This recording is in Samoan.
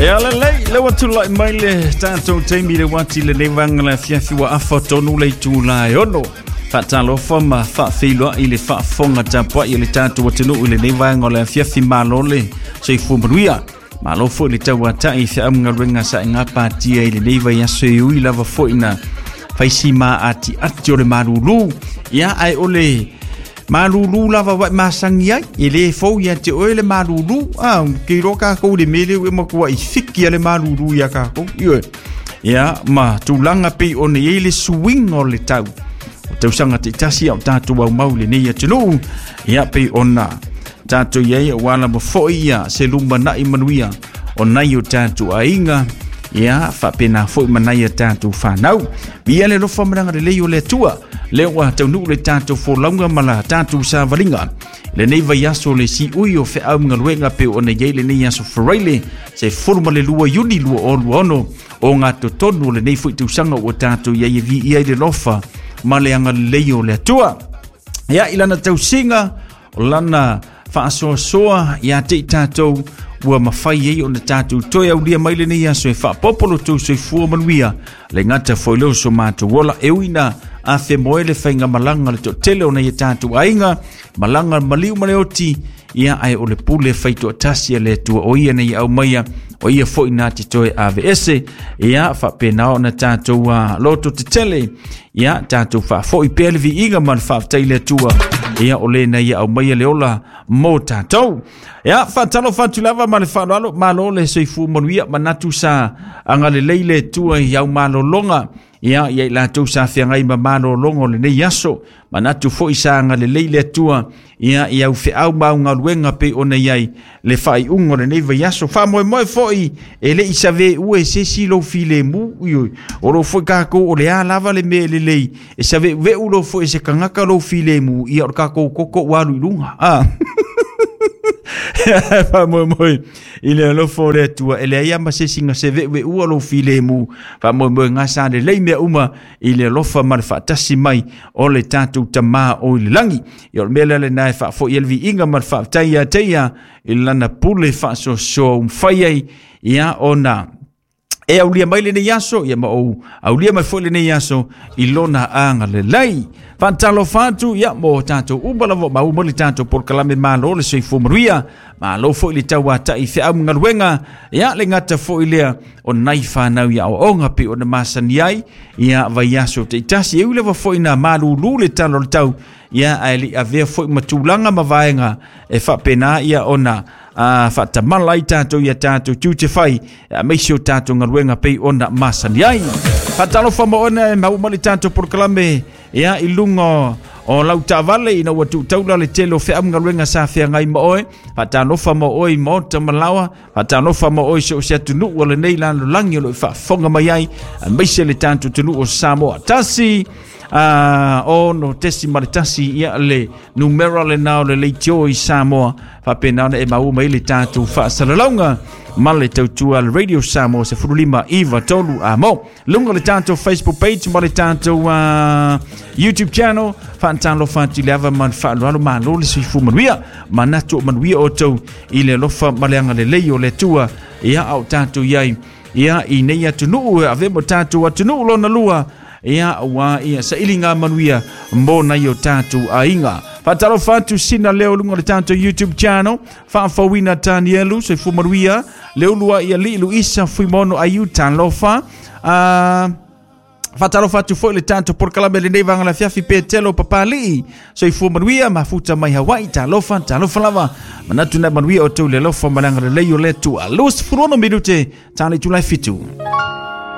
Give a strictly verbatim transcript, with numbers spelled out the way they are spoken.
Ia lelei, le ua tulai mai le tatou taimi le uati lenei vaega le afiafi ua afa tonu le itula e ono. Faatalofa ma faafeiloai le faafofoga tapuai a le tatou atunuu i lenei vaega o le afiafi. Malo le soifua manuia. Malo foi le tauatai i feaugaluega sa e gapatia i lenei vaiaso, e ui lava foi na faisi ma atiati o le malulu. Ia ae o le malulu lava wa masangi ai, e le fou ia te oe le malulu. A ke iloa kākou le mele ua matua i fiki a le malulu ia kākou. Ioe. Ia ma tulaga pei ona i ai le suiga o le tau. O tausaga taitasi a o tatou aumau i lenei atunuu. Ia pei ona tatou i ai aua lava foi ia se lumanai manuia o nai o tatou aiga. Ia faapena foi ma nai a tatou fanau. Via le alofa ma le agalelei o le Atua. Lea ua taunuu le tatou folauga ma la tatou savaliga. Lenei vaiaso le siui o feau ma galuega pe ona i ai lenei aso Faraile se fulu ma le lua Iuni lua o lua ono o ngā totonu o lenei foi tausaga ua tatou i ai e viia i le alofa ma le agalelei o le Atua. Ia i lana tausiga o lana faasoasoa ia te i tatou ua mafai ai ona tatou toe aulia mai lenei aso e faapopo lo tou soifua manuia le gata foi leo so matou ola e ui na afemoe le faigamalaga le toatele o nai a tatou aiga malaga maliu ma le oti. Ia ae o le pule faitoatasi a le Atua o ia nei aumaia o ia foi na te toe aveese. Ia faapena ona tatou uh, loto tetele. Ia tatou faafoi pea le viiga ma le faafetai le Atua. Ia o le na ia aumaia le ola mo tatou. Ia faatalofa atu lava ma le faaaloalo, malo le soifua manuia, manatu sa agalelei le Atua i au malologa. Ia ia i latou sa feagai ma malologa o lenei aso, manatu foi sa agalelei le Atua ia i au feau ma au galuega pei ona i ai le faaiuga o lenei vaiaso. Faamoemoe foi e le i saveua e se isi lou filemu. Ioe, o lo foi kākou o le a lava le mea e lelei e saveuveu lo foi e se tagata lou filemu. Ia o le kākou koko ua alu i luga. Ah. Faamoemoe i le alofa o le Atua e leai lava ma se isi na seve'uve'ua lou filemu. Faamoemoe gasa lelei mea uma i le alofa ma le faatasi mai o le tatou Tamā o i le lagi. Ia o le mea lea lenā e faafo'i ai le viiga ma le faafetai ia te ia i lana pule faasoasoa ua mafai ai ia ona e aulia mai lenei aso, ia ma ou aulia mai foi lenei aso i lona agalelei. Faatalofa atu ia mo tatou uma lava ma uma le tatou polokalame. Malo le soifua manuia, malo foi le tauata'i feau ma galuega. Ia le gata foi lea o nai fanau i aoaoga pei ona masani ai ia vaiaso taitasi, e ui lava foi na malulu le tala o le tau. Ia ae le i avea foi ma tulaga ma vaega e faapena ia ona a faatamala ai tatou ia tatou tiute fai aemaise o tatou galuega pei ona masani ai. Faatalofa ma ona e maua mai le tatou polokalame ia i luga o lau taavale ina ua tuutaula le tele o feau ma galuega sa feagai ma oe. Faatalofa ma oe i maota ma laoa, faatalofa ma oe so o se atunuu o lenei lalolagi o lo o faafofoga mai ai, aemaise le tatou atunuu o Samoa. Tasi uh, ono tesi ma le tasi ia le numera lenā o le leitio i Samoa faapena ona e maua mai le tatou faasalalauga ma le tautua le Radio Samoa sefulu lima iva tolu amo luga o le tatou Facebook page ma le tatou uh, YouTube channel. Faatalofa atu i le ava ma le faaaloalo, malo le soifua manuia, manatu o manuia outou i le alofa ma le agalelei o le Atua. Ia a o tatou i ai ia i nei atunuu e ave mo tatou atunuu lona lua, ia ua ia sailiga manuia mo nai o tatou aiga. Faatalofa atu sina leo luga o le tatou YouTube channel, faafauina Tanielu, soifua manuia Leulua ia lii Luisa Fuimono aiu talofa. uh, Faatalofa atu foi le tatou polokalame lenei vaega le afiafi, Petelo Papali'i, soifua manuia mafuta mai Hawaii, talofa talofa lava, manatu na manuia outou i le alofa ma le agalelei o le Atua. Luasefulu ono minute ta le itula e fitu.